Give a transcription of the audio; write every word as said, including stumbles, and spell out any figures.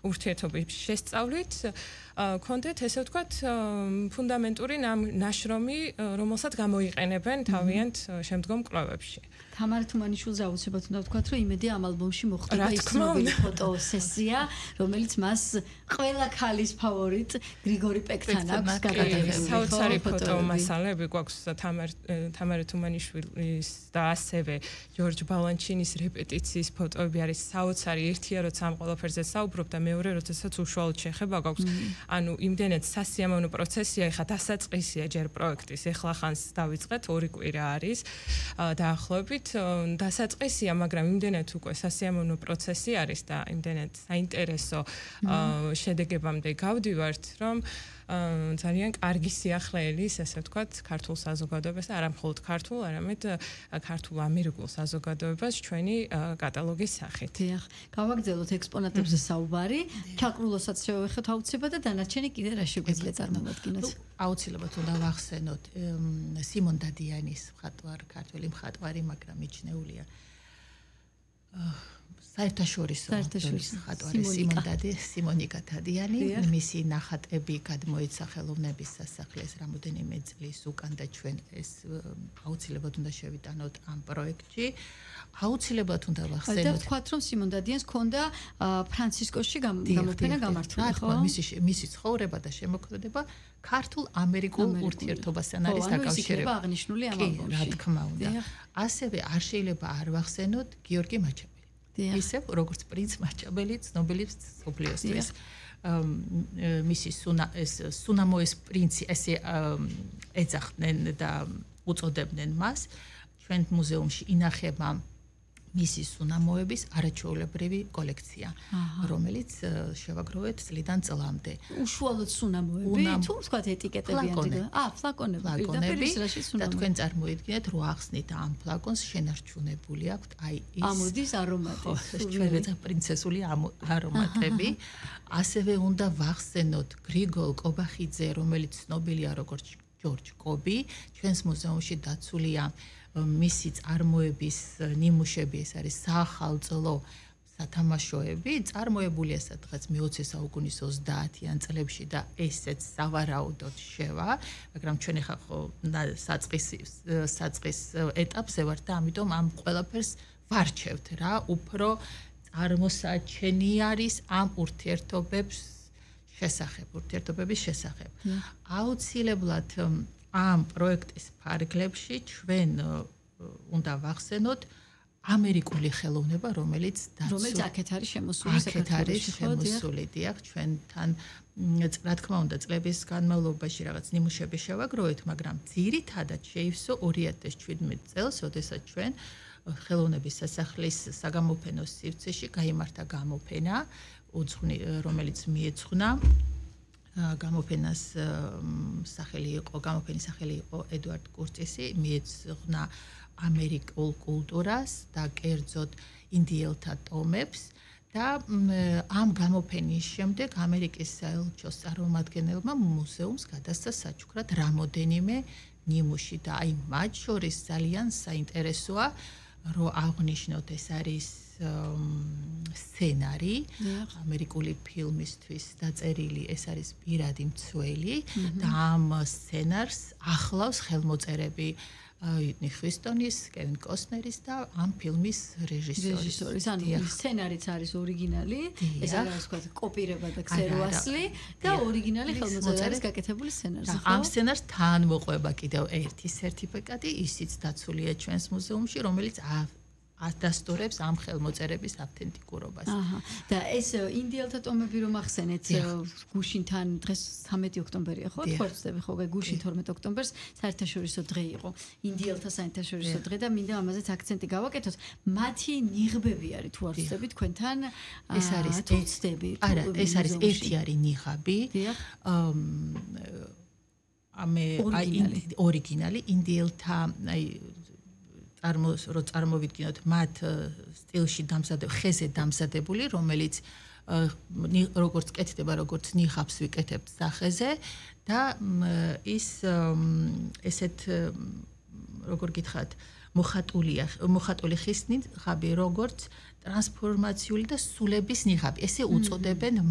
ურთიერთობის შესწავლით კონდეთ ესე ვთქვათ ფუნდამენტური ნაშრომი, რომელსაც გამოიყენებენ თავიანთ შემდგომ კვლევებში. თამარ თუმანიშვილს აუცილებლად უნდა ვთქვათ, რომ იმედი ამ ალბომში მოხდება ის ცნობილი ფოტოსესია, რომელიც მას ყველა ქალის ფავორიტ გრიგორი პეკთან აქვს გადაღებული. საოცარი ფოტომასალები გვაქვს თამარ თამარ თუმანიშვილის და ასევე ჯორჯ ბალანჩინის რეპეტიციის ფოტოები არის საოცარი. ერთია როცა ამ ყველაფერზე საუბრობ და მეორე როდესაც უშუალოდ შეხება გვაქვს. ანუ იმდენად სასიამოვნო პროცესია, ეხლა დასაწყისია ჯერ პროექტის, ეხლა ხანს დავიწყეთ, ორი კვირა არის დაახლოებით დასაწყისია, მაგრამ იმდენად უკვე სასიამოვნო პროცესი არის და იმდენად საინტერესო შედეგებამდე გავდივართ, რომ ძალიან კარგი სიახლეელის, ესე ვთქვათ, ქართულ საზოგადოებას, არა მხოლოდ ქართულ, არამედ ქართულ ამერიკულ საზოგადოებას ჩვენი კატალოგის სახით. დიახ, გავაგრძელოთ ექსპონატებზე საუბარი, ჩაკრულოსაც შევეხეთ აუცილებლად და დანარჩენი კიდე რა შეგვიძლია წარმოვადგინოთ. აუცილებლად უნდა ვახსენოთ სიმონ დადიანის მხატვარ, ქართველი მხატვარი, მაგრამ მიჩნეულია საერთაშორისო მხატვარი სიმონ დადი, სიმონიკა დადიანი, მისი ნახატები გადმოიცა ხელოვნების სასახლეს რამოდენიმე წლის უკან და ჩვენ ეს აუცილებლად უნდა შევიტანოთ ამ პროექტში. აუცილებლად უნდა ვახსენოთ. და ვთქვათ, რომ სიმონ დადიანს ჰქონდა ფრანცისკოში გამოფენა გამართული, ხო? მისი მისი ცხოვრება და შემოქმედება ქართულ-ამერიკულ ურთიერთობასთან არის დაკავშირებული. იქნება აღნიშნული ამ ალბომში. რა თქმა უნდა. ასევე არ შეიძლება არ ვახსენოთ გიორგი მაჩაბელი. ისევ როგორც პრინც მაჩაბელი ცნობილი მსოფლიოსთვის. მისი სუნა ეს სუნამოეს პრინცი ესე ეძახდნენ და უწოდებდნენ მას. ჩვენ მუზეუმში ინახება მისი სუნამოების არაჩვეულებრივი კოლექცია, რომელიც შევაგროვეთ წლიდან წლამდე. უშუალოდ სუნამოები, თუ ვთქვათ ეტიკეტები ანტიგა. აა, ფლაკონები, ფლაკონები და თქვენ წარმოიდგინეთ, რო ახსნით ამ ფლაკონს შენარჩუნებული აქვთ აი ის ამოდის არომატი. ჩვენ ვეძახ პრინცესული არომატები. ასევე უნდა ვახსენოთ გრიგოლ კობახიძე, რომელიც ცნობილია როგორც ჯორჯ კობი, ჩვენს მუზეუმში დაცულია მისი წარმოების ნიმუშები, ეს არის საახალწლო სათამაშოები, წარმოებულია სადღაც მეოცე საუკუნის ოცდაათიან წლებში და ესეც სავარაუდოდ შევა, მაგრამ ჩვენ ახლა ხო საწყის საწყის ეტაპზე ვართ და ამიტომ ამ ყველაფერს ვარჩევთ რა, უფრო წარმოსაჩენი არის ამ ურთიერთობებს შესახებ, ურთიერთობების შესახებ. აუცილებლად ამ პროექტის ფარგლებში ჩვენ უნდა ვახსენოთ ამერიკული ხელოვნება, რომელიც რომელიც აქეთ არის შემოსული საქართველოში. აქეთ არის შემოსული, დიახ, ჩვენთან რა თქმა უნდა წლების განმავლობაში რაღაც ნიმუშები შევაგროვეთ, მაგრამ ძირითადად შეივსო ორი ათას შვიდმეტ წელს, როდესაც ჩვენ ხელოვნების სასახლის საგამოფენო სივრცეში გაიმართა გამოფენა, უძღვნი, რომელიც მიეძღვნა გამოფენას სახელი იყო, გამოფენის სახელი იყო ედვარდ კურტისი, მიეძღვნა ამერიკულ კულტურას და კერძოდ ინდიელთა ტომებს და ამ გამოფენის შემდეგ ამერიკის საელჩოს წარმომადგენელმა მუზეუმს გადასცა საჩუქრად რამოდენიმე ნიმუში და აი მათ შორის ძალიან საინტერესოა, რომ აღნიშნოთ ეს არის სცენარი ამერიკული ფილმისთვის დაწერილი, ეს არის პირადი მცველი და ამ სცენარს ახლავს ხელმოწერები ვიტნი ჰიუსტონის, კევინ კოსნერის და ამ ფილმის რეჟისორის. ანუ სცენარიც არის ორიგინალი, ეს არის თქვა კოპირება და ქსეროასლი და ორიგინალი ხელმოწერა არის გაკეთებული სცენარზე. ამ სცენარს თან მოყვება კიდევ ერთი სერტიფიკატი, ისიც დაცულია ჩვენს მუზეუმში, რომელიც ადასტურებს ამ ხელმოწერების ავთენტიკურობას. აჰა. და ეს ინდიელთა ტომები რომ ახსენეთ, გუშინთან დღეს ცამეტი ოქტომბერია, ხო? თქვენ ვწდები ხო, გუშინ თორმეტ ოქტომბერს საერთაშორისო დღე იყო. ინდიელთა საერთაშორისო დღე და მინდა ამაზეც აქცენტი გავაკეთოთ. მათი ნიღბები არის თუ არ ვწდები თქვენთან? ეს არის ვწდები. არა, ეს არის ერთი არის ნიღაბი. ამე აი ორიგინალი ინდიელთა აი წარმოს რო წარმოვიდგინოთ მათ სტილში დამზადებული, ხეზე დამზადებული, რომელიც როგორც კეთდება, როგორც ნიღაბს ვიკეთებთ სახეზე და ის ესეთ როგორ გითხრათ, მოხატულია, მოხატული ხის ნიღაბი, როგორც ტრანსფორმაციული და სულების ნიღაბი. ესე უწოდებენ